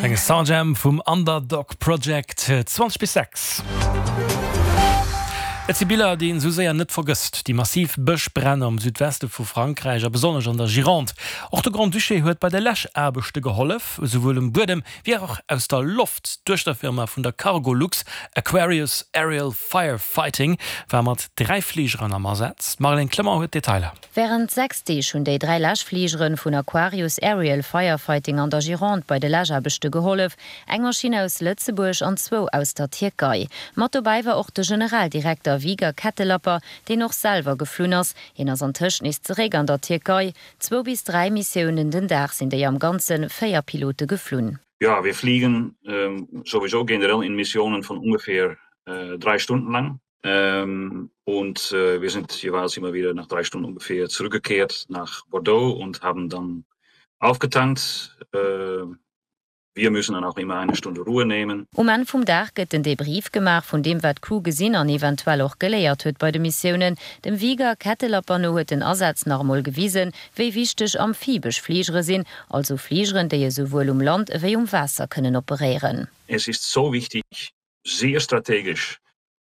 Eng Soundjam vum Underdog Project, 20 bis 6. Et si Biller, déi een esou séier net vergësst, déi massiv Bëschbränn am Südweste vu Frankräich a besonnesch an der Gironde. Och de Grand-Duché huet bei de Läschaarbechte gehollef, esouwuel um Buedem wéi och aus der Loft. D'Duechterfirma vun der Cargolux, Aquarius Aerial Fire Fighting, war mat 3 Fligeren am Asaz. D'Marlène Clement huet d'Detailer. Wärend 6 Deeg hunn déi 3 Läschfligere vun Aquarius Aerial Firefighting an der Gironde bei de Läschaarbechte gehollef. Eng Maschinn aus Lëtzebuerg an zwou aus der Tierkei. Mat dobäi war och de Generaldirekter Wieger Kettelapper, deen och selwer geflunn ass. Hien ass antëscht nees zeréck an der Tierkei. Zwou bis 3 Missiounen den Dag sinn déi am Ganze 4 Pilote geflunn. Ja, wir fliegen sowieso generell in Missionen von ungefähr 3 Stunden lang. Ähm, und äh, wir sind jeweils immer wieder nach drei Stunden ungefähr zurückgekehrt nach Bordeaux und haben dann aufgetankt. Äh, wir müssen dann auch immer eine Stunde Ruhe nehmen. Um Enn vum Dag gëtt den Debrief gemaach vun deem wat d'Crew gesinn an eventuell och geléiert huet bei de Missiounen. Dem Wieger Kettelapper no huet den Asaz nach emol gewisen, wéi wichteg amphibesch Fligere sinn, also Fligeren, déi esouwuel um Land ewéi um Waasser kënnen operéieren. Es ist so wichtig, sehr strategisch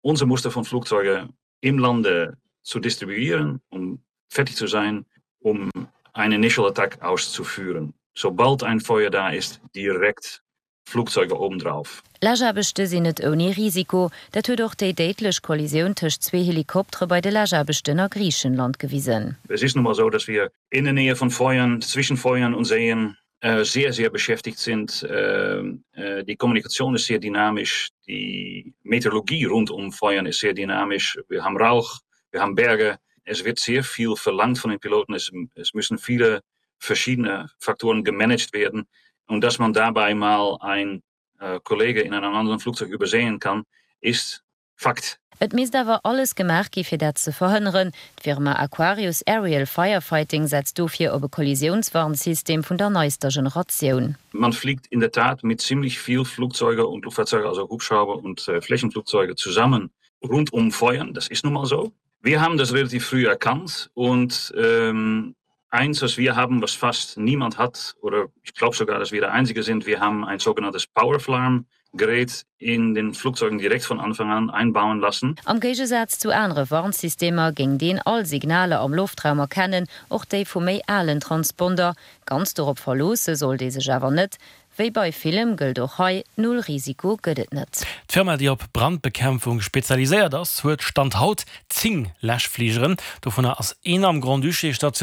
unser Muster von Flugzeuge im Lande zu distribuieren, um fertig zu sein, um eine Initial Attack auszuführen. Sobald ein Feuer da ist, direkt Flugzeuge obendrauf. Läschaarbechte sinn net ouni Risiko. Dat huet och déi déidlech Kollisioun tëscht zwee Helikoptere bei de Läschaarbechten a Griichenland gewisen. Es ist nun mal so, dass wir in der Nähe von Feuern, zwischen Feuern und Seen sehr, sehr beschäftigt sind. Die Kommunikation ist sehr dynamisch, die Meteorologie rund um Feuern ist sehr dynamisch. Wir haben Rauch, wir haben Berge. Es wird sehr viel verlangt von den Piloten. Es, es müssen viele verschiedene Faktoren gemanagt werden und dass man dabei mal ein äh, Kollege in einem anderen Flugzeug übersehen kann, ist Fakt. Et misst awer alles gemaach gi fir dat ze verhënneren. D'Firma Aquarius Aerial Firefighting setzt dofir op e Kollisiounswarnsystem vun der neister Generatioun. Man fliegt in der Tat mit ziemlich viel Flugzeuge und Luftfahrzeuge, also Hubschrauber und Flächenflugzeuge zusammen rund um Feuern, das ist nun mal so. Wir haben das relativ früh erkannt und ähm, eins, was wir haben, was fast niemand hat oder ich glaube sogar, dass wir der einzige sind, wir haben ein sogenanntes Powerflarm Gerät in den Flugzeugen direkt von Anfang an einbauen lassen. Am Géigesaz zu anere Warnsystemer géing deen all Signaler am Loftraum erkennen, och déi vu méi alen Transponder. Ganz dorop verloosse sollt ee sech awer net. Wéi bei villem gëllt och hei, Null Risiko gëtt et net. D'Firma, déi op Brandbekämpfung spezialiséiert ass, huet Stand haut 10 Läschfligeren. Dovunner ass een am Grand-Duché stationéiert.